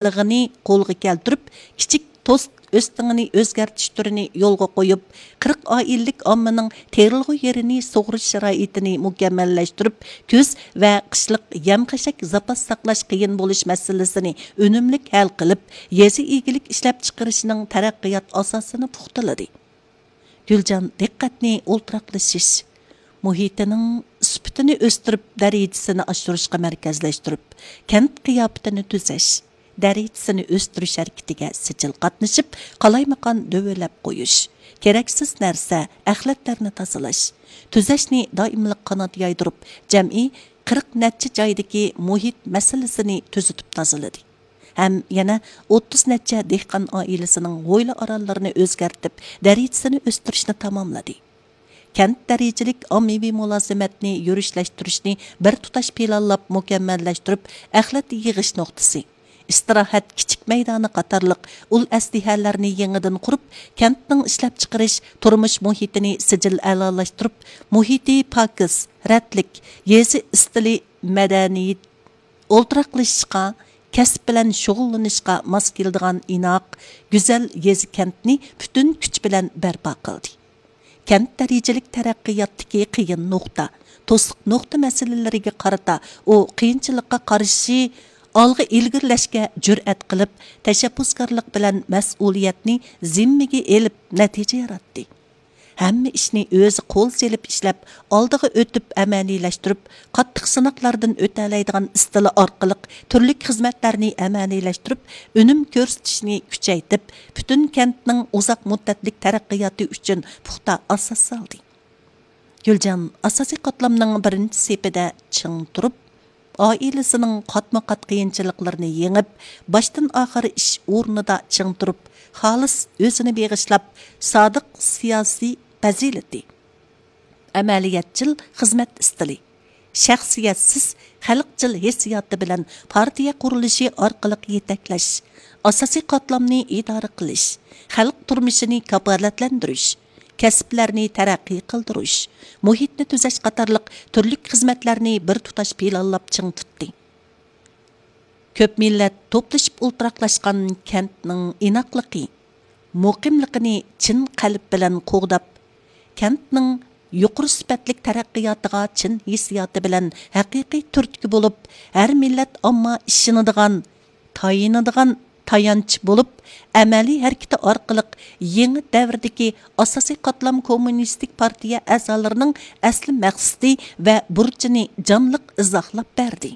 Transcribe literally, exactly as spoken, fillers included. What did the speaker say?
بېلىغىنى قولغا كەلتۈرۈپ، كىچىك توست ئۆستىڭىنى ئۆزگەرتىش تۈرىنى يولغا قويۇپ، قىرىق ئائىلىلىك ئاممىنىڭ تېرىلغۇ يېرىنى سۇغىرىش شارائىتىنى مۇكەممەللەشتۈرۈپ، كۈز ۋە قىشلىق يەم-خەشەك زاپاس ساقلاش قىيىن بولۇش مەسىلىسىنى ئۈنۈملۈك ھەل قىلىپ، يېزا ئىگىلىك ئىشلەپچىقىرىشنىڭ تەرەققىيات ئاساسىنى پۇختىلىدى. گۈلجان دىققەتنى ئولتۇراقلىشىش مۇھىتىنىڭ سۈپىتىنى ئۆستۈرۈپ، دەرىجىسىنى ئاشۇرۇشقا مەركەزلەشتۈرۈپ، كەنت قىياپىتىنى تۈزەش، دەرىجىسىنى ئۆستۈرۈش ھەرىكىتىگە سىجىل قاتنىشىپ، قالايمىقان دۆۋىلەپ قويۇش، كېرەكسىز نەرسە، ئەخلەتلەرنى تازىلاش، تۈزەشنى دائىملىق قانات يايدۇرۇپ، جەمئىي قىرىق نەچچە جايدىكى مۇھىت مەسىلىسىنى تۈزىتىپ تازىلىدى. ھەم يەنە ئوتتۇز نەچچە دېھقان ئائىلىسىنىڭ ھويلا ئارانلىرىنى ئۆزگەرتىپ، دەرىجىسىنى ئۆستۈرۈشنى تاماملىدى. كەنت دەرىجىلىك ئاممىۋى مۇلازىمەتنى يۈرۈشلەشتۈرۈشنى بىر تۇتاش پىلانلاپ مۇكەممەللەشتۈرۈپ، ئەخلەت يىغىش نۇقتىسى، ئىستىراھەت كىچىك مەيدانى قاتارلىق ئۇل ئەسلىھەلەرنى يېڭىدىن قۇرۇپ، كەنتنىڭ ئىشلەپچىقىرىش، تۇرمۇش مۇھىتىنى سىجىل ئەلالاشتۇرۇپ، مۇھىتى پاكىز، رەتلىك، يېزا ئىستىلى مەدەنىيىتى ئولتۇراقلىشىشقا، كەسىپ بىلەن شۇغۇللىنىشقا ماس كېلىدىغان ئىناق، گۈزەل يېزا كەنتنى پۈتۈن كۈچ بىلەن بەرپا قىلدى. كەنت دەرىجىلىك تەرەققىياتتىكى قىيىن نۇقتا، توسۇق نۇقتا مەسىلىلىرىگە قارىتا ئۇ قىيىنچىلىققا قارشى ئالغا ئىلگىرىلەشكە جۈرئەت قىلىپ، تەشەببۇسكارلىق بىلەن مەسئۇلىيەتنى زىممىگە ئېلىپ نەتىجە ياراتتى. ھەممە ئىشنى ئۆزى قول سېلىپ ئىشلەپ، ئالدىغا ئۆتۈپ ئەمەلىيلەشتۈرۈپ، قاتتىق سىناقلاردىن ئۆتەلەيدىغان ئىستىلى ئارقىلىق تۈرلۈك خىزمەتلەرنى ئەمەلىيلەشتۈرۈپ، ئۈنۈم كۆرسىتىشنى كۈچەيتىپ، پۈتۈن كەنتنىڭ ئۇزاق مۇددەتلىك تەرەققىياتى ئۈچۈن پۇختا ئاساس سالدى. گۈلجان ئاساسىي قاتلامنىڭ بىرىنچى سېپىدە چىڭ تۇرۇپ، ئائىلىسىنىڭ قاتمۇ قات قىيىنچىلىقلىرىنى يېڭىپ، باشتىن ئاخىر ئىش ئورنىدا چىڭ تۇرۇپ، خالىس ئۆزىنى بېغىشلاپ، سادىق سىياسىي پەزىلىتى، ئەمەلىيەتچىل خىزمەت ئىستىلى، شەخسىيەتسىز خەلقچىل ھېسسىياتى بىلەن پارتىيە قۇرۇلۇشى ئارقىلىق يېتەكلەش، ئاساسىي قاتلامنى ئىدارە قىلىش، خەلق تۇرمۇشىنى كاپالەتلەندۈرۈش، كەسىپلەرنى تەرەققىي قىلدۇرۇش، مۇھىتنى تۈزەش قاتارلىق تۈرلۈك خىزمەتلەرنى بىر تۇتاش پىلانلاپ چىڭ تۇتتى. كۆپ مىللەت توپلىشىپ ئولتۇراقلاشقان كەنتنىڭ ئىناقلىقى، مۇقىملىقىنى چىن قەلب بىلەن قوغداپ، كەنتنىڭ يۇقىرى سۈپەتلىك تەرەققىياتىغا چىن ھېسسىياتى بىلەن ھەقىقىي تۈرتكە بولۇپ، ھەر مىللەت ئامما ئىشىنىدىغان، تايىنىدىغان تايانچ بولۇپ، ئەمەلىي ھەرىكىتى ئارقىلىق يېڭى دەۋردىكى ئاساسىي قاتلام كوممۇنىستىك پارتىيە ئەزالىرىنىڭ ئەسلى مەقسىتى ۋە بۇرچىنى جانلىق ئىزاھلاپ بەردى.